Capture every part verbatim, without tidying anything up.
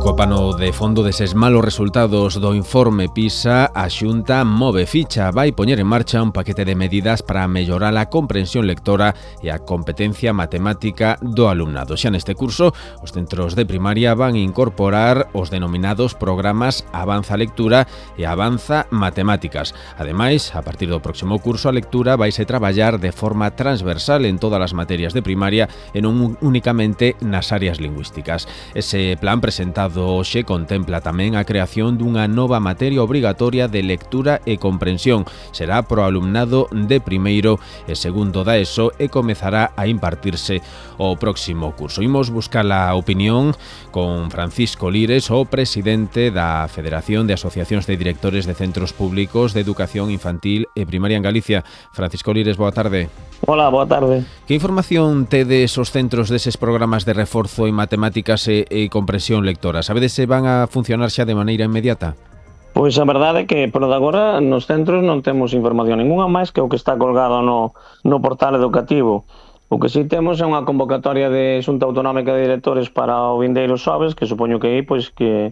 Co pano de fondo deses malos resultados do informe PISA, a Xunta move ficha, vai poñer en marcha un paquete de medidas para mellorar a comprensión lectora e a competencia matemática do alumnado. Xa neste curso, os centros de primaria van incorporar os denominados programas Avanza Lectura e Avanza Matemáticas. Ademais, a partir do próximo curso, a lectura vaise traballar de forma transversal en todas as materias de primaria e non únicamente nas áreas lingüísticas. Ese plan presentado hoxe contempla tamén a creación dunha nova materia obrigatoria de lectura e comprensión. Será pro alumnado de primeiro e segundo da ESO e comezará a impartirse o próximo curso. Imos buscar a opinión con Francisco Lires, o presidente da Federación de Asociacións de Directores de Centros Públicos de Educación Infantil e Primaria en Galicia. Francisco Lires, boa tarde. Hola, boa tarde. Que información tedes os centros deses programas de reforzo en matemáticas e, e comprensión lectora? Sabedes se van a funcionar xa de maneira inmediata? Pois a verdade é que, por de agora, nos centros non temos información ninguna máis que o que está colgado no, no portal educativo. O que si temos é unha convocatoria de Xunta Autonómica de Directores para o vindeiro xoves, que supoño que aí, pois, que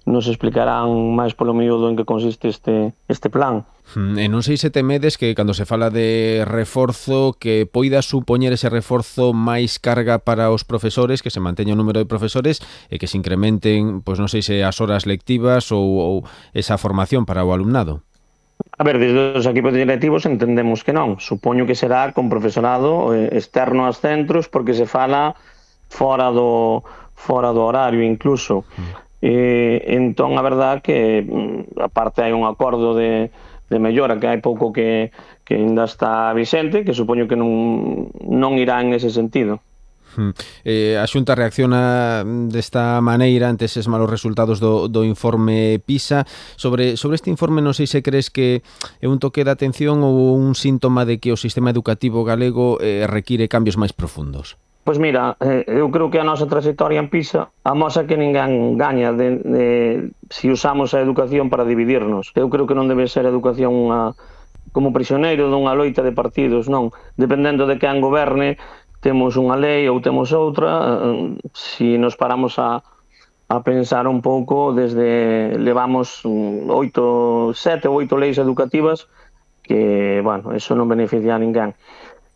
nos explicarán máis polo miúdo en que consiste este, este plan. E non sei se temedes que cando se fala de reforzo que poida supoñer ese reforzo máis carga para os profesores, que se manteña o número de profesores e que se incrementen, pois non sei se as horas lectivas ou, ou esa formación para o alumnado. A ver, desde os equipos directivos entendemos que non. Supoño que será con profesorado externo aos centros porque se fala fora do, fora do horario incluso. Mm. E, entón, a verdad que aparte hai un acordo de, de mellora que hai pouco que, que ainda está vixente, que supoño que non, non irá en ese sentido. Eh, a Xunta reacciona desta maneira ante eses malos resultados do, do informe PISA. Sobre, sobre este informe non sei se crees que é un toque de atención ou un síntoma de que o sistema educativo galego eh, require cambios máis profundos. Pois mira, eu creo que a nosa trayectoria en PISA amosa que ninguén gaña de, de, se usamos a educación para dividirnos. Eu creo que non debe ser a educación unha, como prisioneiro dunha loita de partidos, non. Dependendo de quen goberne, temos unha lei ou temos outra. Se nos paramos a, a pensar un pouco, desde levamos oito, sete ou oito leis educativas que, bueno, eso non beneficia a ninguén.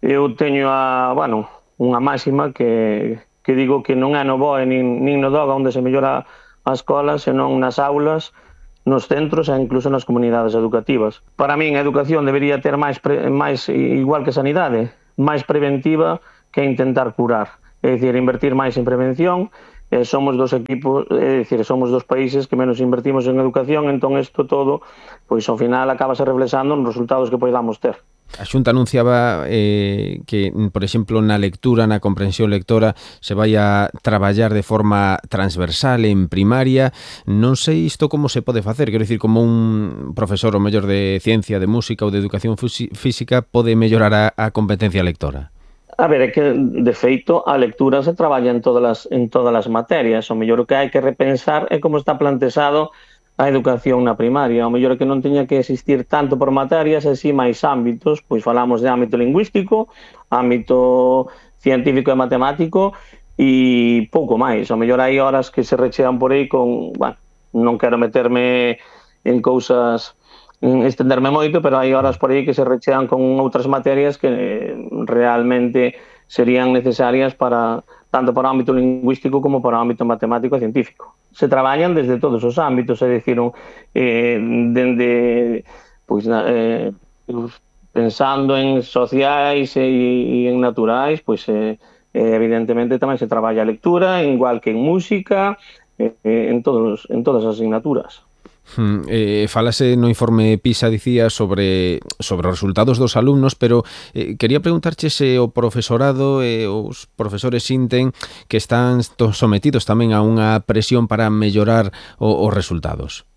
Eu teño a, bueno, unha máxima que, que digo que non é no B O E nin, nin no D O G onde se mellora a escola, senón nas aulas, nos centros e incluso nas comunidades educativas. Para min a educación debería ter máis, pre, máis igual que sanidade, máis preventiva que intentar curar. É dicir, invertir máis en prevención. Eh, somos dos equipos, é dicir, somos dos países que menos invertimos en educación, entón isto todo, pois ao final acaba se reflexando nos resultados que podamos ter. A Xunta anunciaba eh, que, por exemplo, na lectura, na comprensión lectora, se vai a traballar de forma transversal en primaria. Non sei isto como se pode facer, quero dicir, como un profesor o mellor de ciencia, de música ou de educación física pode mellorar a, a competencia lectora. A ver, é que, de feito, a lectura se traballa en todas as, en todas as materias. O mellor que hai que repensar é como está plantexado a educación na primaria. O mellor que non teña que existir tanto por materias e si máis ámbitos, pois falamos de ámbito lingüístico, ámbito científico e matemático e pouco máis. O mellor hai horas que se rechean por aí con, bueno, non quero meterme en cousas, en estenderme moito, pero hai horas por aí que se rechean con outras materias que realmente serían necesarias para tanto para o ámbito lingüístico como para o ámbito matemático e científico. Se traballan desde todos os ámbitos, é dicir, eh, dende, pois, eh, pensando en sociais e, e en naturais, pois, eh, evidentemente tamén se traballa a lectura, igual que en música, eh, en, todos, en todas as asignaturas. Hmm, eh, falase no informe PISA, dicía, sobre, sobre os resultados dos alumnos, pero eh, quería preguntarche se o profesorado e eh, os profesores sinten que están sometidos tamén a unha presión para mellorar o, os resultados.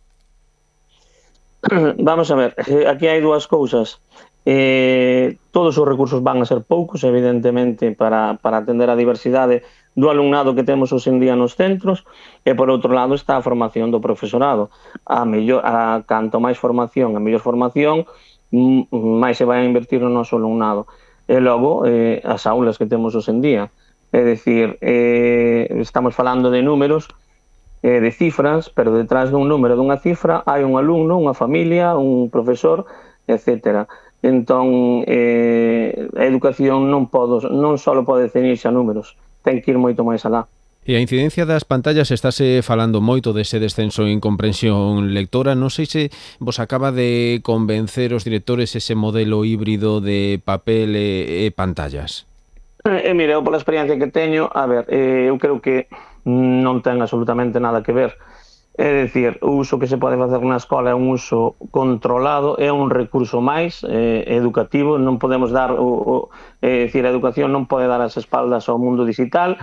Vamos a ver, aquí hai dúas cousas. Eh, todos os recursos van a ser poucos, evidentemente, para, para atender a diversidade do alumnado que temos hoxe en día nos centros, e por outro lado está a formación do profesorado. A mellor, a canto máis formación, a mellor formación, máis se vai a invertir no noso alumnado. E logo, eh, as aulas que temos hoxe en día. É dicir, eh, estamos falando de números eh, de cifras, pero detrás dun número dunha cifra hai un alumno, unha familia, un profesor, etcétera. Entón, eh, a educación non, podo, non só pode ceñirse a números, ten que ir moito máis alá. E a incidencia das pantallas, estáse falando moito dese descenso en comprensión lectora. Non sei se vos acaba de convencer os directores ese modelo híbrido de papel e, e pantallas. E, e mire, eu pola experiencia que teño, a ver, eh, eu creo que non ten absolutamente nada que ver. É dicir, o uso que se pode facer na escola é un uso controlado, é un recurso máis eh, educativo, non podemos dar, o, o, é dicir, a educación non pode dar as espaldas ao mundo digital,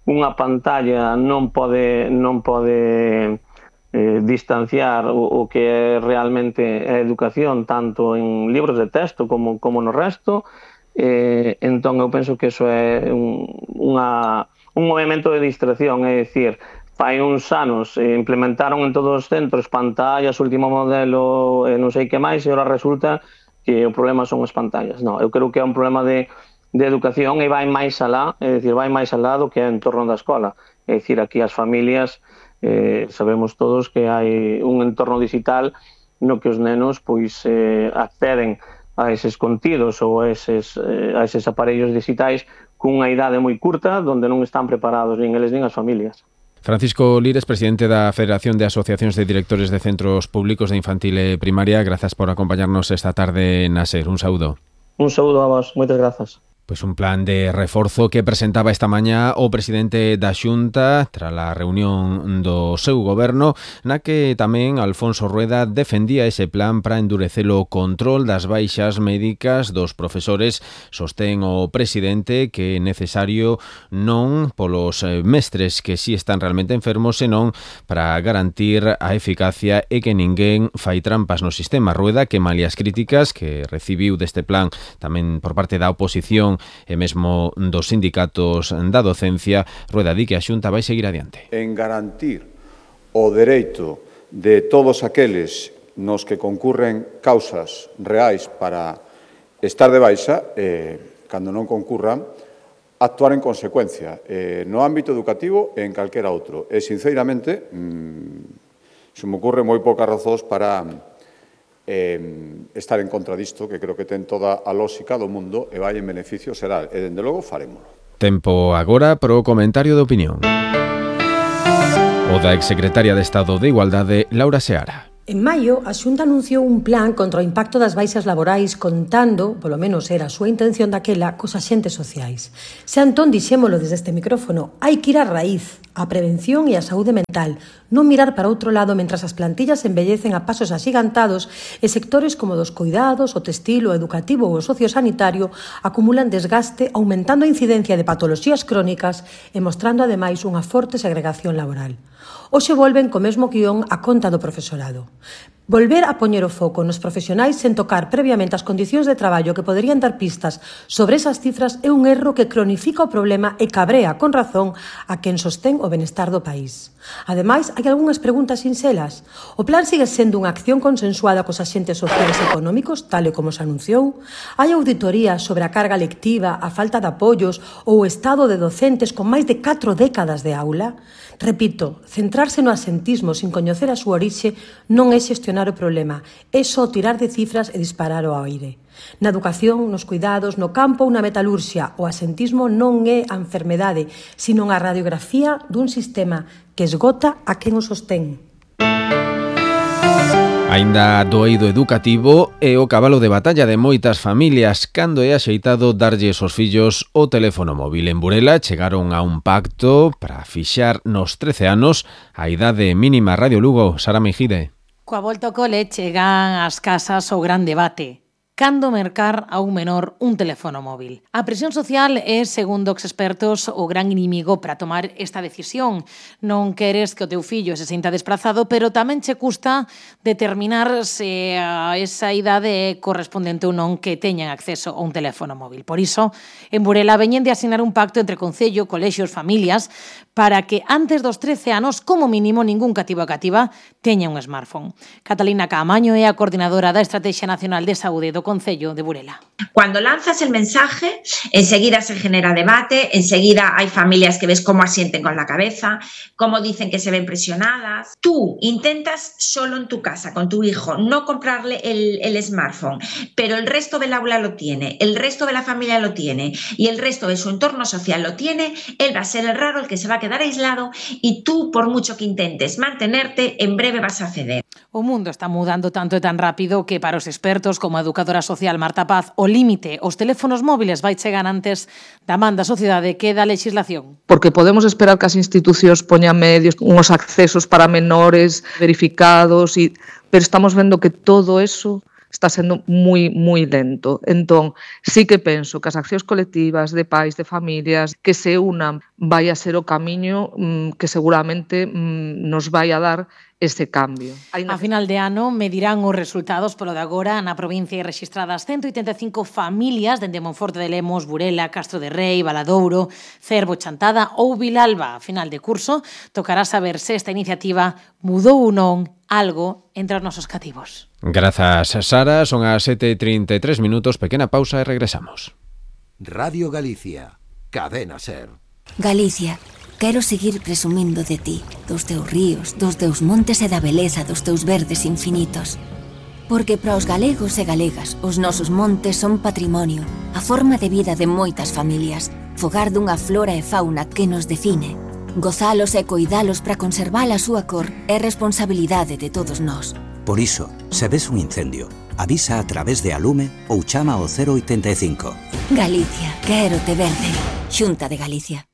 unha pantalla non pode, non pode eh, distanciar o, o que é realmente a educación, tanto en libros de texto como, como no resto, eh, entón eu penso que iso é un, unha, un movimento de distracción, é dicir, fai uns anos eh, implementaron en todos os centros pantallas, último modelo, eh, non sei que máis, e agora resulta que o problema son as pantallas. Non, eu creo que é un problema de, de educación e vai máis alá, é dicir, vai máis alá do que é en torno da escola. É dicir, aquí as familias, eh, sabemos todos que hai un entorno digital no que os nenos pois eh, acceden a eses contidos ou a eses, eh, a eses aparellos digitais cunha idade moi curta, onde non están preparados nin eles nin as familias. Francisco Lires, presidente da Federación de Asociacións de Directores de Centros Públicos de Infantil e Primaria, grazas por acompañarnos esta tarde na SER. Un saúdo. Un saúdo a vos, moitas grazas. Pois un plan de reforzo que presentaba esta mañá o presidente da Xunta tras a reunión do seu goberno, na que tamén Alfonso Rueda defendía ese plan para endurecer o control das baixas médicas dos profesores. Sostén o presidente que é necesario non polos mestres que si están realmente enfermos, senón para garantir a eficacia e que ninguén fai trampas no sistema. Rueda que malia as críticas que recibiu deste plan tamén por parte da oposición e mesmo dos sindicatos da docencia, Rueda di que a Xunta vai seguir adiante. En garantir o dereito de todos aqueles nos que concurren causas reais para estar de baixa, eh, cando non concurran, actuar en consecuencia, eh, no ámbito educativo e en calquera outro. E, sinceramente, mmm, se me ocurre moi poucas razóns para Eh, estar en contra disto, que creo que ten toda a lógica do mundo e vai en beneficio xeral, e dende logo farémolo. Tempo agora pro comentario de opinión. O da exsecretaria de Estado de Igualdade, Laura Seara. En maio, a Xunta anunciou un plan contra o impacto das baixas laborais contando, polo menos era a súa intención daquela, cos axentes sociais. Se Antón dixémolo desde este micrófono, hai que ir á raíz, a prevención e a saúde mental, non mirar para outro lado mentras as plantillas envellecen a pasos axigantados e sectores como dos cuidados, o textil, o educativo ou o sociosanitario acumulan desgaste, aumentando a incidencia de patoloxías crónicas e mostrando ademais unha forte segregación laboral. Hoxe volven co mesmo guión a conta do profesorado. Volver a poñer o foco nos profesionais sen tocar previamente as condicións de traballo que poderían dar pistas sobre esas cifras é un erro que cronifica o problema e cabrea con razón a quen sostén o benestar do país. Ademais, hai algunhas preguntas sinxelas. O plan sigue sendo unha acción consensuada cos axentes sociais e económicos, tal e como se anunciou? Hai auditoría sobre a carga lectiva, a falta de apoios ou o estado de docentes con máis de catro décadas de aula? Repito, centrarse no asentismo sin coñecer a súa orixe non é xestionar o problema, é só tirar de cifras e disparar ao aire. Na educación, nos cuidados, no campo ou na metalurxia, o asentismo non é a enfermedade, sino a radiografía dun sistema que esgota a quen o sostén. Aínda do eido educativo é o cabalo de batalla de moitas familias cando é axeitado darlles aos fillos o teléfono móvil. En Burela chegaron a un pacto para fixar nos trece anos a idade mínima. Radio Lugo, Sara Mejide. Coa volta ao cole chegan ás casas o gran debate. Cando mercar a un menor un teléfono móvil? A presión social é, segundo os expertos, o gran inimigo para tomar esta decisión. Non queres que o teu fillo se sinta desprazado, pero tamén che custa determinar se a esa idade é correspondente ou non que teñan acceso a un teléfono móvil. Por iso, en Burela veñen de asinar un pacto entre Concello, colexios, familias, para que antes dos trece anos, como mínimo, ningún cativo a cativa teña un smartphone. Catalina Caamaño é a coordinadora da Estrategia Nacional de Saúde do Concello de Burela. Cuando lanzas el mensaje, enseguida se genera debate, enseguida hay familias que ves cómo asienten con la cabeza, cómo dicen que se ven presionadas. Tú intentas solo en tu casa, con tu hijo, no comprarle el, el smartphone, pero el resto del aula lo tiene, el resto de la familia lo tiene y el resto de su entorno social lo tiene, él va a ser el raro, el que se va a quedar aislado y tú, por mucho que intentes mantenerte, en breve vas a ceder. O mundo está mudando tanto e tan rápido que para os expertos como a educadora social Marta Paz o límite os teléfonos móviles vai chegar antes da man da sociedade que da legislación. Porque podemos esperar que as institucións poñan medios, unhos accesos para menores verificados, y, pero estamos vendo que todo eso está sendo moi, moi lento. Entón, sí que penso que as accións colectivas de pais, de familias, que se unan, vai a ser o camiño mmm, que seguramente mmm, nos vai a dar ese cambio. A final de ano medirán os resultados, polo de agora na provincia hai rexistradas ciento oitenta e cinco familias dende Monforte de Lemos, Burela, Castro de Rei, Valadouro, Cervo, Chantada ou Vilalba. A final de curso tocará saber se esta iniciativa mudou ou non algo entre os nosos cativos. Grazas, Sara. Son as sete e trinta e tres minutos. Pequena pausa e regresamos. Radio Galicia, Cadena Ser. Galicia, quero seguir presumindo de ti, dos teus ríos, dos teus montes e da beleza dos teus verdes infinitos. Porque para os galegos e galegas, os nosos montes son patrimonio, a forma de vida de moitas familias, fogar dunha flora e fauna que nos define. Gozalos e coidalos para conservar a súa cor é responsabilidade de todos nós. Por iso, se ves un incendio, avisa a través de Alume ou chama ao cero oitenta e cinco. Galicia, quero te verde. Xunta de Galicia.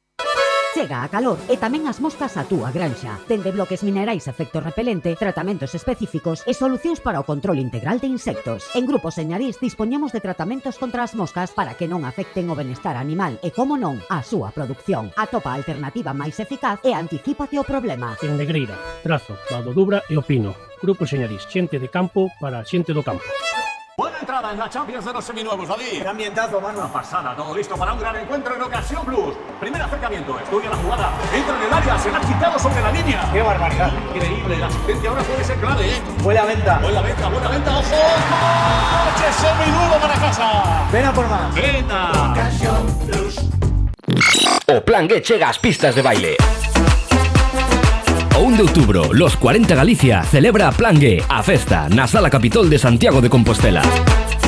Chega a calor e tamén as moscas a túa granxa. Dende bloques minerais efecto repelente, tratamentos específicos e solucións para o control integral de insectos. En Grupo Señarís dispoñemos de tratamentos contra as moscas para que non afecten o benestar animal e, como non, a súa produción. Atopa a alternativa máis eficaz e anticípate o problema. En Negreira, Trazo, Valdo Dubra e o Pino. Grupo Señarís, xente de campo para xente do campo. Buena entrada en la Champions de los seminuevos, David. Qué ambientazo, mano. Una pasada, todo listo para un gran encuentro en Ocasión Plus. Primer acercamiento, estudia la jugada, entra en el área, se la ha quitado sobre la línea. Qué barbaridad. Increíble, la asistencia ahora puede ser clave, ¿eh? Buena venta. Buena venta, buena venta, ojo. ¡Coche seminuevo para casa! Ven a por más. Venta. Ocasión Plus. O Plan G chega ás pistas de baile. O un de outubro, Los cuarenta Galicia celebra a Plan G, a festa, na Sala Capitol de Santiago de Compostela.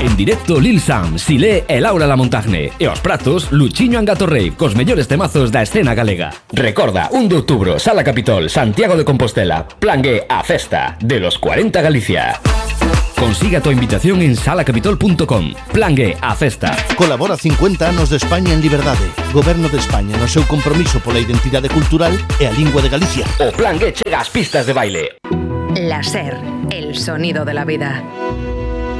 En directo Lil Sam, Silé e Laura Lamontagne. E aos pratos, Luchiño Angatorrey, cos mellores temazos da escena galega. Recorda, un de outubro, Sala Capitol, Santiago de Compostela. Plan G, a festa, de Los cuarenta Galicia. Consiga tu invitación en sala capitol punto com. Plan G, a festa. Colabora cincuenta anos de España en liberdade. Goberno de España no seu compromiso pola identidade cultural e a lingua de Galicia. O Plan G chega ás pistas de baile. La Ser, el sonido de la vida.